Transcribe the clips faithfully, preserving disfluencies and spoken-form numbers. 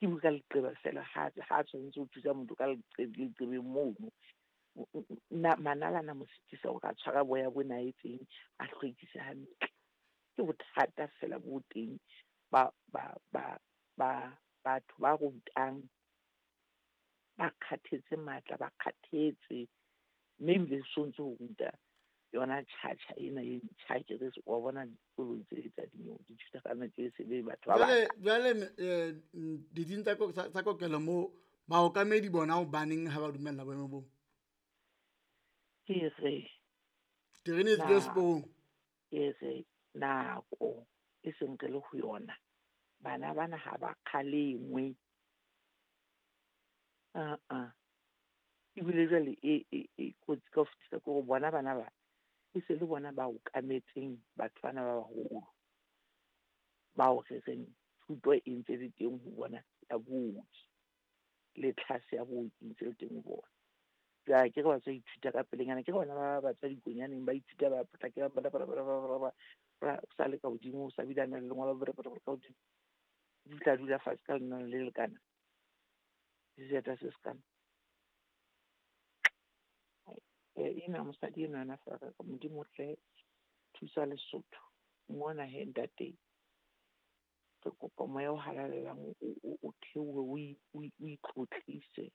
Ke bua ka leqeba fela ha ha tshwanetse ho thusa motho ka leqebeng mono. Manala ana mo sitisa hore a tshwara boya bona a etseng, a hlwekise hantle. Ke bothata fela bo teng ba ba ba ba batho ba rutang ba kgathetse matla, ba kgathetse. Mme ebile so ntso ho ruta yona tjhatjha ena e ntjha akere wa bona dikolong tse tsa dinyewe dithutwana tse se le batho ba Jwale jwale eh ditsing tsa tsa kokelo moo baokamedi bona hobaneng ha ba dumella boemo boo? Ke re Terene e tswile seporong. Ke re nako e seng re le ho yona, bana bana ha ba kgalengwe. Aa ebile jwale e e e kotsi ka ho fetisisa ke hore bona bana ba e se le bona ba okametseng batho bana ba baholo, bao re reng thuto e ntse le teng ho bona ya booki le tlhase ya booki ntse le teng ho bona. Jwale akere ba tswa ithuta ka pelenyana, akere bana ba ba tswa dikonyaneng ba ithuta ba potlakela ba sa le ka hodimo, o sa bile a na le lengolo ka hodimo. Di tla dula fatshe ka lenane le lekana, seeta se sekana. Ena mosadi enwa yena feela Modimo hle thusa Lesotho. Mona hee ntate, re kopa moya o halalelang o theohe, o itlotlise,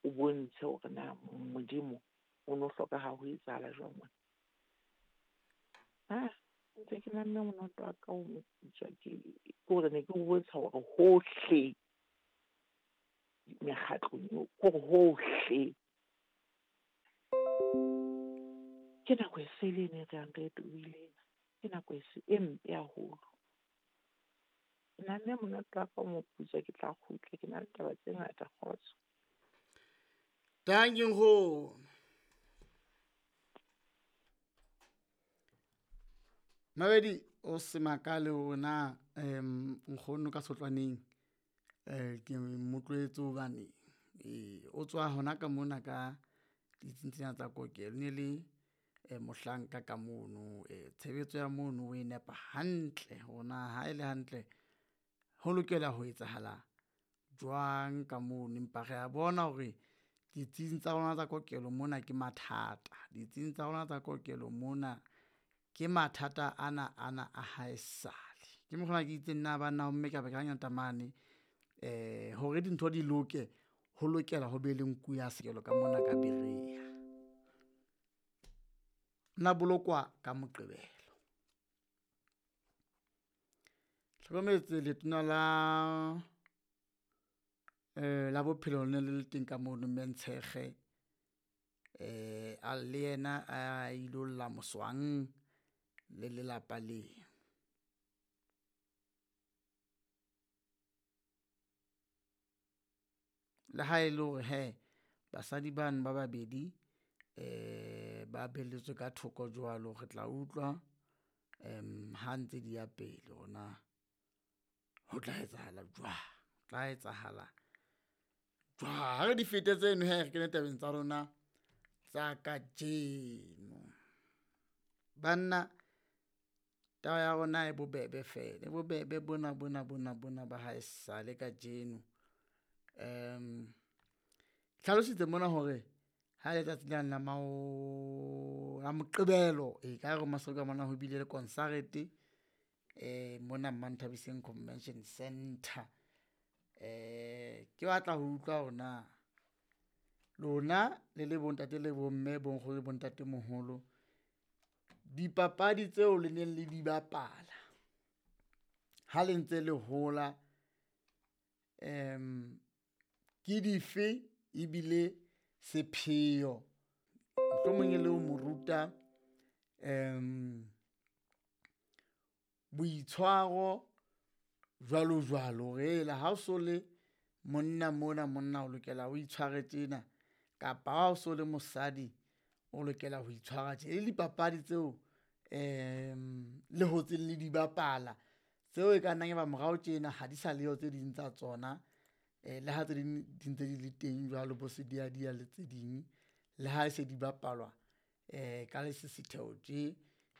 o bontshe hore na Modimo o no hloka ha ho etsahala jwang mona. Ah, ntse ke namme monoto wa ka o moputswa ke hore ne ke o bontsha hore hohle mekgatlong eo, kore hohle. Ke nako e sele ene e re yang re e tobile ena. Ke nako e se e mpe haholo. Ke nahanne monate wa ka o moputswa ke tla kgutla, ke na le taba tse ngata kgotso. Dankie nkgono. Mabedi o se makale hore na um nkgono ka sotlwaneng um ke motlwetse hobane eh o tswa hona ka mona ka ditsing tsena tsa kokelo. Ne le eh mohlanka ka mono, eh tshebetso ya mono o e nepa hantle hore na ha e le hantle ho lokela ho etsahala jwang ka mono. Empa re a bona hore ditsing tsa rona tsa kokelo mona ke mathata, ditsing tsa rona tsa kokelo mona ke mathata ana ana a haesale. Ke mokgwa ona ke itseng na banna homme ka ba ka mane eh hore dintho di loke, ho lokela ho be le nku ya sekelo ka mona ka Berea. Na bolokwa ka Moqebelo. Hlokometse letona la eh la bophelo le ne le le teng ka mono mme Ntshekge eh a le yena a ilo lla moswang le lelapa le. Le ha e le hore hee basadi bano ba babedi eh ba belletswe ka thoko jwalo, re tla utlwa um ha ntse di ya pele hore na ho tla etsahala jwang, tla etsahala jwang. Ha re di fete tseno hee re kene tabeng tsa rona tsa kajeno. Banna taba ya rona e bobebe fela, e bobebe bona bona bona bona ba haesale kajeno. Um hlalositse mona hore ha letsatsi lane la mao la Moqebelo e ka hare ho mona ho bile le konsarete eh mona Manthabiseng Convention Centre. Eh ke batla ho utlwa hore na lona le le bontate le bomme, bonkgono le bontatemoholo, dipapadi tseo le neng le di bapala ha le ntse le hola um ke dife ebile sepheo mohlomong e le ho mo ruta um boitshwaro jwalo jwalo. Hore hela ha o so le monna mona monna o lokela o itshware tjena, kapa ha o so le mosadi o lokela ho itshwara tje. Le dipapadi tseo um le hotseng le di bapala tseo e ka nnang ya ba morao tjena ha di sa leyo tse ding tsa tsona. Eh le ha tse ding di ntse di le teng jwalo bo sediadia le tse ding, le ha e se di bapalwa eh ka lesisitheho tje.